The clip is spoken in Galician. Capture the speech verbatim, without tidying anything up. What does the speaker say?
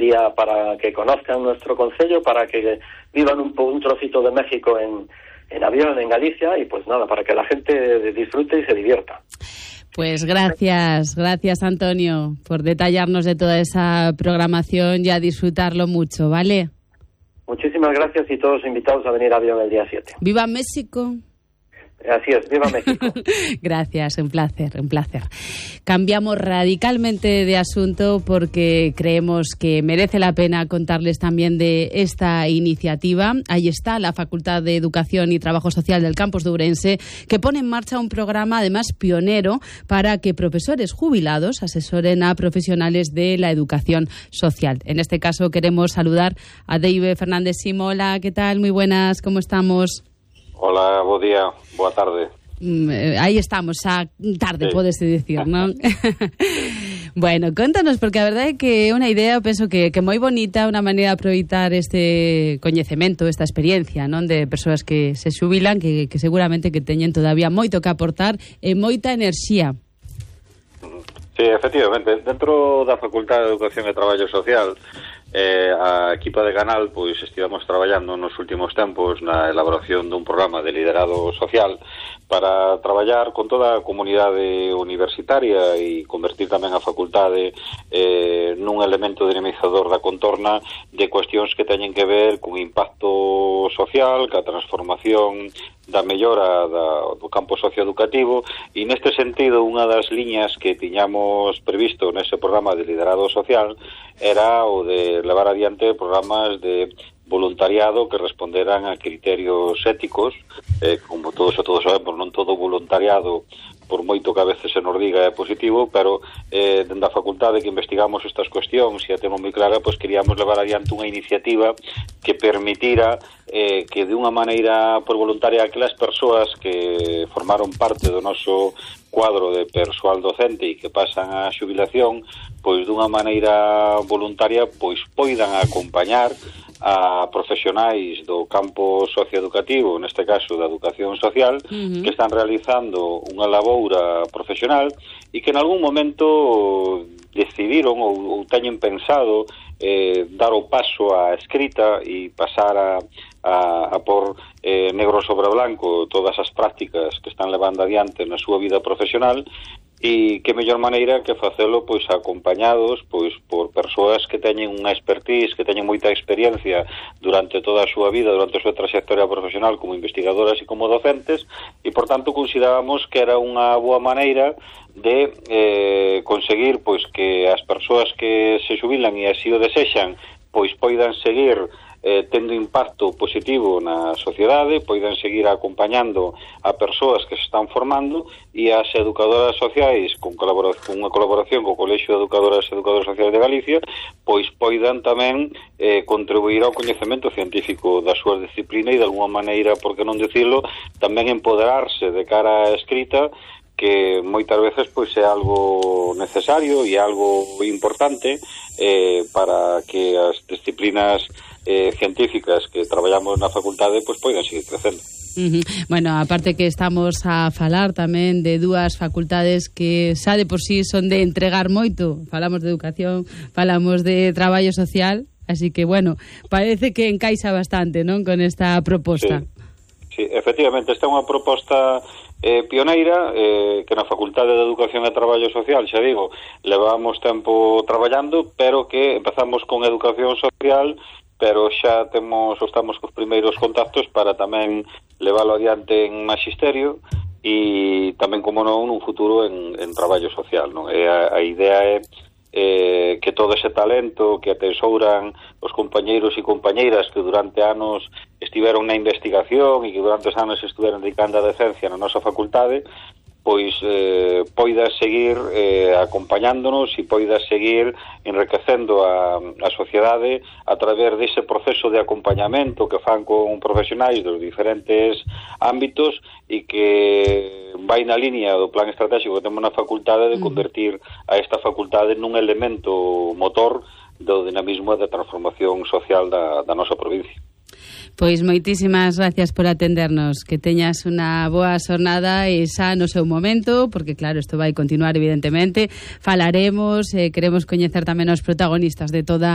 día para que conozcan nuestro concello, para que vivan un, un trocito de México en, en avión en Galicia y pues nada, para que la gente disfrute y se divierta. Pues gracias, gracias Antonio por detallarnos de toda esa programación y a disfrutarlo mucho, ¿vale? Muchísimas gracias y todos invitados a venir a Avión el día siete. ¡Viva México! Así es, viva México. Gracias, un placer, un placer. Cambiamos radicalmente de asunto porque creemos que merece la pena contarles también de esta iniciativa. Ahí está la Facultad de Educación y Trabajo Social del campus de Ourense, que pone en marcha un programa además pionero para que profesores jubilados asesoren a profesionales de la educación social. En este caso queremos saludar a Deive Fernández Simola. ¿Qué tal? Muy buenas, ¿cómo estamos? Hola, bo día, boa tarde. Mm, aí estamos, xa tarde, sí. Pódese dicir, non? Bueno, contanos, porque a verdade é que é unha idea, penso que, que moi bonita, unha maneira de aproveitar este coñecemento, esta experiencia, non, de persoas que se xubilan, que, que seguramente que teñen todavía moito que aportar e moita enerxía. Sí, efectivamente, dentro da Facultad de Educación e Traballo Social, Eh, a equipa de Canal pois estivemos traballando nos últimos tempos na elaboración dun programa de liderado social para traballar con toda a comunidade universitaria e convertir tamén a facultade eh, nun elemento dinamizador da contorna de cuestións que teñen que ver con impacto social, ca transformación da mellora da, do campo socioeducativo, e neste sentido unha das liñas que tiñamos previsto nese programa de liderado social era o de levar adiante programas de voluntariado que responderan a criterios éticos, eh, como todos e todos sabemos, non todo voluntariado, por moito que a veces se nos diga, é positivo, pero eh, dende a facultade que investigamos estas cuestións e a temos moi clara, pois queríamos levar adiante unha iniciativa que permitira eh, que de unha maneira por voluntaria aquelas persoas que formaron parte do noso cuadro de persoal docente e que pasan a xubilación, pois dunha maneira voluntaria pois poidan acompañar a profesionais do campo socioeducativo, neste caso da educación social, uh-huh. que están realizando unha laboura profesional e que en algún momento decidiron ou, ou teñen pensado eh, dar o paso á escrita e pasar a, a, a por eh, negro sobre blanco todas as prácticas que están levando adiante na súa vida profesional, e que mellor maneira que facelo pois acompañados pois por persoas que teñen unha expertise, que teñen moita experiencia durante toda a súa vida, durante a súa trayectoria profesional como investigadoras e como docentes, e por tanto considerábamos que era unha boa maneira de eh, conseguir pois que as persoas que se xubilan e así o desexan pois poidan seguir eh, tendo impacto positivo na sociedade, poidan seguir acompañando a persoas que se están formando, e as educadoras sociais, con, colaboración, con unha colaboración co Colexio de Educadoras e Educadores Sociais de Galicia, pois poidan tamén eh, contribuir ao coñecemento científico da súa disciplina e de alguma maneira, por que non dicilo, tamén empoderarse de cara á escrita, que moitas veces pois é algo necesario e algo importante eh, para que as disciplinas eh, científicas que traballamos na facultade pois poidan seguir crecendo. Uh-huh. Bueno, aparte que estamos a falar tamén de dúas facultades que xa de por sí son de entregar moito. Falamos de educación, falamos de traballo social, así que bueno, parece que encaixa bastante, non, con esta proposta. Sí, sí, efectivamente, esta é unha proposta eh, pioneira eh, que na Facultade de Educación e Traballo Social, xa digo, levamos tempo traballando, pero que empezamos con educación social, pero xa temos, estamos cos primeiros contactos para tamén leválo adiante en magisterio e tamén, como non, nun futuro en, en traballo social, non? E a, a idea é eh, que todo ese talento que atesouran os compañeiros e compañeiras que durante anos estiveron na investigación e que durante os anos estiveron dedicando a decencia na nosa facultade, pois eh, poida seguir eh, acompañándonos e poida seguir enriquecendo a, a sociedade a través dese proceso de acompañamento que fan con profesionais dos diferentes ámbitos e que vai na línea do plan estratégico que temos na facultade de convertir a esta facultade nun elemento motor do dinamismo e da transformación social da, da nosa provincia. Pois moitísimas gracias por atendernos, que teñas unha boa xornada e xa no seu momento, porque claro, isto vai continuar evidentemente, falaremos, eh, queremos coñecer tamén os protagonistas de toda